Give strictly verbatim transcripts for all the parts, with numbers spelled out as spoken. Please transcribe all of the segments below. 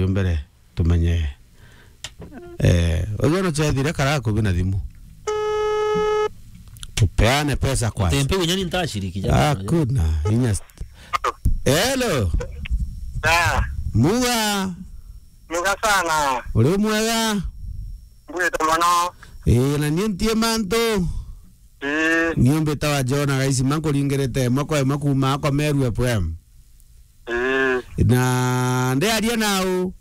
Mbere tumenye. Eh, uyu no chethire kara kubi na thimu. Tupeane pesa kwanza. Tempe unyani ntashiriki ja. Hakuna. Inya st- Hello. Da. Muga. Muga sana. Uri mwega? Mbwite mono. Eh, na nie ntie mantu. Eh. Niumbitawa Jona Gaisima nkuringirite imwe kwa imwe kuuma akwa Meru F M. Eh. Na ndiaria nau?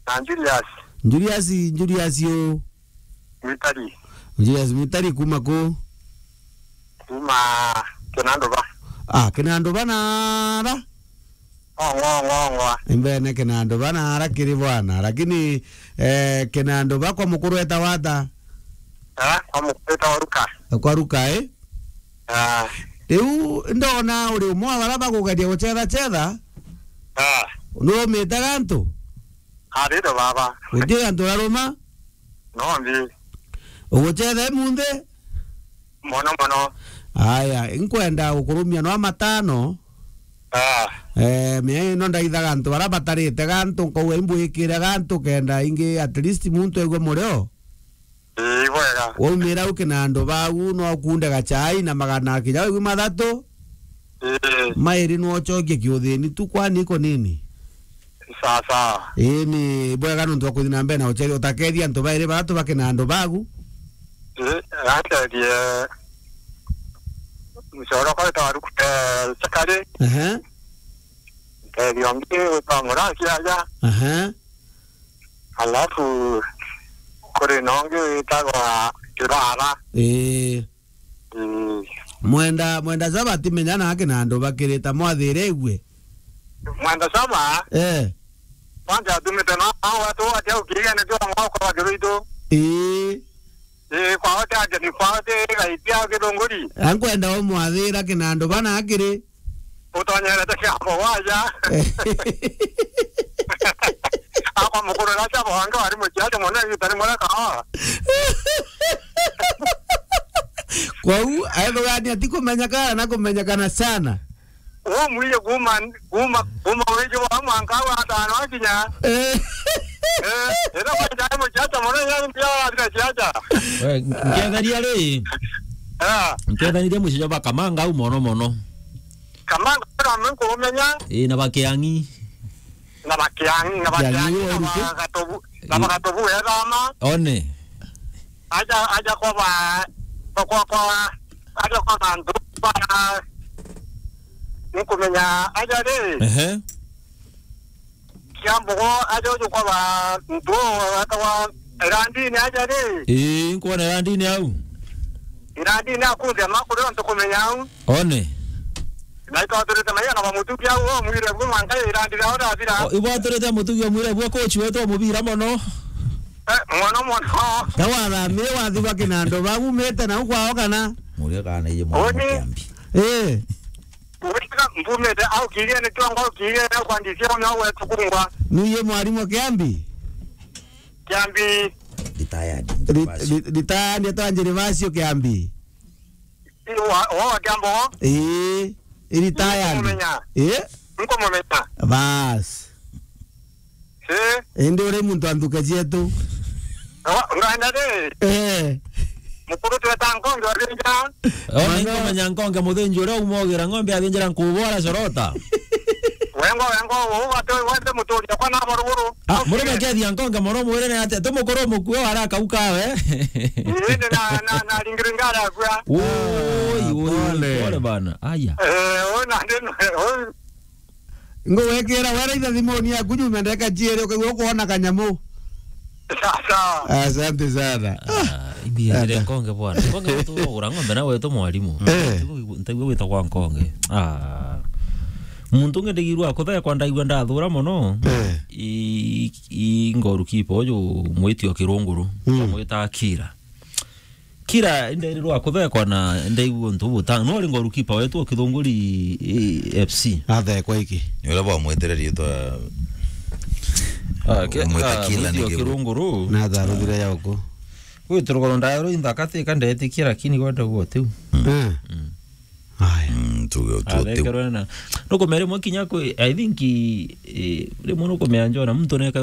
Na Julius. Julius, Julius u? Mwitari. Julius Mwitari kuma ku? Kuma Kinanduba. Ah, Kinanduba nara? Ongwa, ongwa, ongwa. Imbene Kinanduba nara kiri bwana, lakini, eh, Kinanduba kwa mukuru etagwa ata? Eh, kwa mukuru etagwa Ruka. Kwa Ruka, eh? Ah. Riu ndona uri umwe wa baria bakugeria gucetha cetha. Ah. Nurumite gantu? Arire baba. Guti gantu uraruma? No ndi. Ugucetha imunthi? Mono mono. Aya, nkwenda gukurumia no matano. Ah. Eh, mia ino ndaithaga antu baria batarite gantu, nkauga imbwikire gantu kenda ingi at least muntu aigue murio. Ii, bwega. Waumira uki na andu bagu, no ukunde gachai na magana kinya igu mathatu. Ii. Mairi no ucokie kiuthini tu, kwani iko nini? Sawa, sawa. Ii, ni bwega nontu wa kuthi na mbere na ucethi, utakethia antu bairi bathatu baki na andu bagu. Ii, gantethie mucoro kwa witwa Ruku, eh, Chakari. Ehe. Ntethia ungi witwa Muraki aja. Ehe. Alafu kuri na ungi witagwa Kirara. Ii. Mm. Mwenda, Mwenda Saba atimenya na aki na andu bakirita mwathire igue. Mwenda Saba? Eh. Kwanza atumite no, no watu wote au kigene tu ngoko wa Kiruitu. Ii. Ii, kwa wote aje ni kwa wote gaitia Githunguri. Ankwenda umwathira ki na andu bana akiri. Utonyerete kiambo waja. Akwa mukuru na kiambo wange wari muciaca mono, igita rimwe ria kahoa. Kwou, aethugania ti kumenyekana na kumenyekana sana. Umwiye kuma, kuma, kuma wiji wa mwanka wa atano akinya. Eh. Eh, ira kwa jai muciaca mono, ya mpia wa athira ciaca. We, nketheria ri? Ah. Nkethanirie muciaca ba Kamangau mono mono. Kamangau na mimi nkumenya. Ii, na Bakiang'i. Na Bakiang'i, na Bakiang'i, Bakiang'i na uriku? Bagatobu, na Bagatobu ethama. One. Aja, aja kwa ba, kwa, kwa, kwa, aja kwa bantu ba, nkumenya aja ri. Ehe. Kiambogo aja uju kwa ba ntu wetagwa Irandini aja ri. Ii, nkwona Irandini au. Irandini akuthia makuri ontu kumenya au. One. Na itwaturite maiya na bamutugi au, o mwire bu mwanka Irandini au ndathira. O, ibwaturite mutugi o mwire bu coach wetu o mubira mono. Eh, mono mono. Ka wathamire wathigwa kinando baumite na ukwao kana? Muria kana iye mwana Oni. Kiambi. Eh. Wika mbumite au kirie ni tongo kirie na kwandithia una wetu kungwa. Nuye mwarimu Kiambi? Kiambi. Retired. Ri-, ri-, retired, etwa Gervasio Kiambi. Wa, wa Kiambo. Ii, retired. Nkumumenya. Ii? Nkumumenya. Bas. Eh? Indi uri muntu wa nthuke cietu. Ngaenda ri? Eh. Mukuru tweta nkonge wathinja. Ona inkomenya nkonge muthinji uria umogira ng'ombe athinjira nkubu aracorota. Wengwa, wengwa, ubatwe wende muturia kwa nabo ruguru. Ah, murume kethia nkonge mono mwirene atia, ti mukuru mukue wara kaukawe. Indi na, na, na ringiringara akua. Oi, oi, pole. Pole bana. Aya. Eh, ona ndino, oi. Ngugwikira wera itha thimuni yaku nyuma ndeka ciiri ukaigua ukwona kanyamu. Sawa, sawa. Asante sana. Ah, imbiazire nkonge bwana. Nkonge muntu ugura ng'ombe na wetu mwarimu. Eh. Ntaigua gwita kwa nkonge. Ah. Muntu ungi ndigirwa kuthekwa ndaigua ndathura mono. Eh. I, i goalkeeper uju mwitio kirunguru. Mm. Mwita Akira. Kira nderirwa kuthekwa na ndaigua untu butang-, no ri goalkeeper wetu o Kithunguri, eh, F C. Athekwa iki. Ni uria bwamwetire riitwa, ah, ke-, mwita ah, Kila mwiti ni o kibu. Kirunguru. Na tharuthire ya uku. Gwiturugoro ndaero inthaka tika ndetikia, lakini gwenda guo tiu. Mm. Eh. Mm. Aya. Mm, tuge utu tiu. Athengerwe na, nukumea rimwe kinya kwi, I think, eh, rimwe nukumea njona muntu neka